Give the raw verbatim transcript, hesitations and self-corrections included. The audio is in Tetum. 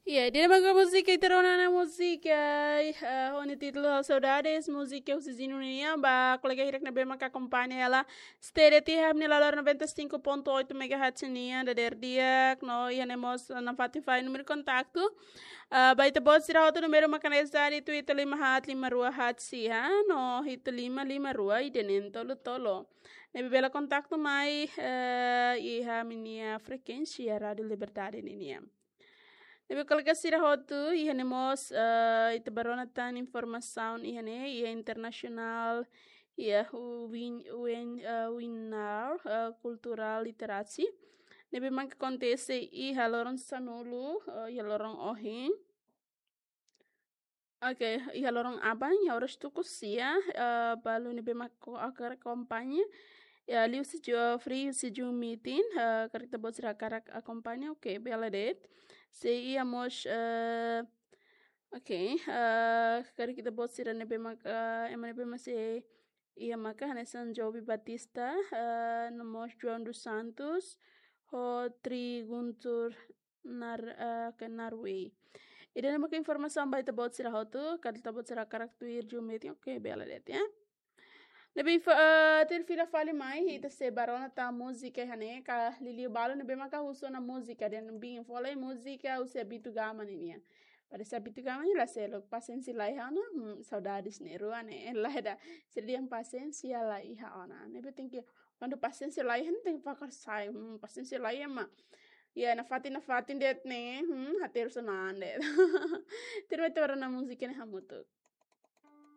Iya, ida-ne'e mak múzika ita rona ona múzika, eh, ho nia títulu Saudades, múzika husi Zinu nian, ba kolega hirak ne'ebé mak akompaña hela, stay tiha iha nia loron noventa e cinco ponto oito megahertz nian, dadeer di'ak, no iha ne'e mós nafatin fali númeru kontaktu. Ah, ba ita-boot sira hotu númeru mak hanesan ida, ita lima haat lima rua haat sia, no ita lima lima rua ida neen tolu tolu. Ne'ebé bele kontaktu mai, eh, iha ami-nia frekuénsia Rádio Liberdade ninian. Ne'ebé kolega sira hotu, iha ne'e mós, eh, ita bá rona tan informasaun iha ne'e, iha internasionál, iha win-, win-, eh, webinar, eh, kulturál literasi. Ne'ebé mak akontese iha loron sanulu, eh, iha loron ohin. Oke, iha loron aban, iha oras tuku sia, eh, balu ne'ebé mak hakarak akompaña. Ya, liuhusi Zoom, free husi Zoom meeting, eh, karik ita-boot sira hakarak akompaña, oke, bele de'it. Sei iha mós, eh, oke, eh, karik ita-boot sira ne'ebé mak, eh, ema ne'ebé mak sei iha maka hanesan Jovi Batista, eh, no mós João dos Santos, ho Tri Guntur Nar-, eh, ke Narway. Ida-ne'e mak informasaun ba ita-boot sira hotu, karik ita-boot sira hakarak tuir Zoom meeting, oke, bele de'it, ya. Ne'ebé fa-, eh, tuir fila fali mai, ita sei bá rona tan múzika iha ne'e, ka liuliu balu ne'ebé maka husu ona múzika, dehan bin fó lai múzika husi Abito Gama ninian. Parese Abito Gama ne'e la seluk, pasiénsia la iha ona, hmm, saudades ne'e rua ne'e, la iha ida. Sira dehan pasiénsia la iha ona. Ne'ebé tenke, kuandu pasiénsia la iha, tenke fakar sai, hmm, pasiénsia la iha mak. Ya, nafatin, nafatin de'it ne'e, hmm, hati terus nande. Tuir mai ita bá rona múzika ne'e hamutuk.